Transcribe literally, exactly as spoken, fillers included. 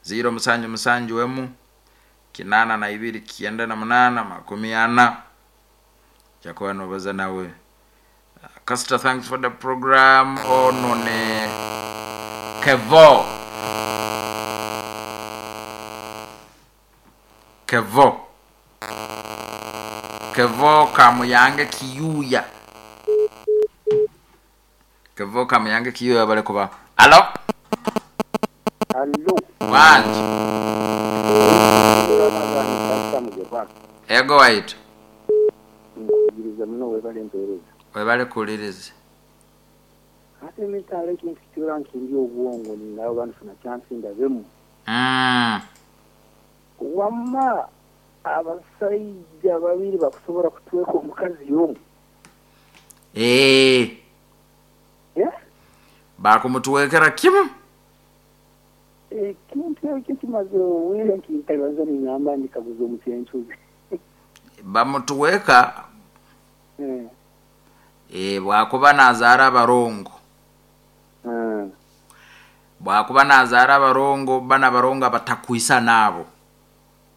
Ziro musanju musanju emu kinana na ibiri kyenda na munana makumi ana jakuba nobaza nawe. Castor, thanks for the program. Ono ne Kevo. Kevo. Kevo Kamuyange Kiyuya. Kevo Kamuyange Kiyuya bale kuba. Alo? Alo. Wanji. Ego waitu. Nkugiriza muno webale mpeereza. Webale kuwuliriza. Ate mitaala ekintu kitura nkindi obwongo ninawe banfuna chance ndabemu. Mm. Wamma abasajja babiri bakusobola kutweka omukazi y'omu. Eh. Yeah? Bakumutwekera kimu. Ekintu ekyo kimaze obwire nkintabaza ningamba ndikaguza omukyencuzi. Bamutuweka Mm. eh bwakuba nazaara abarongo. Mm. Bwakuba nazaara abarongo bana barongo abatakwisa nabo.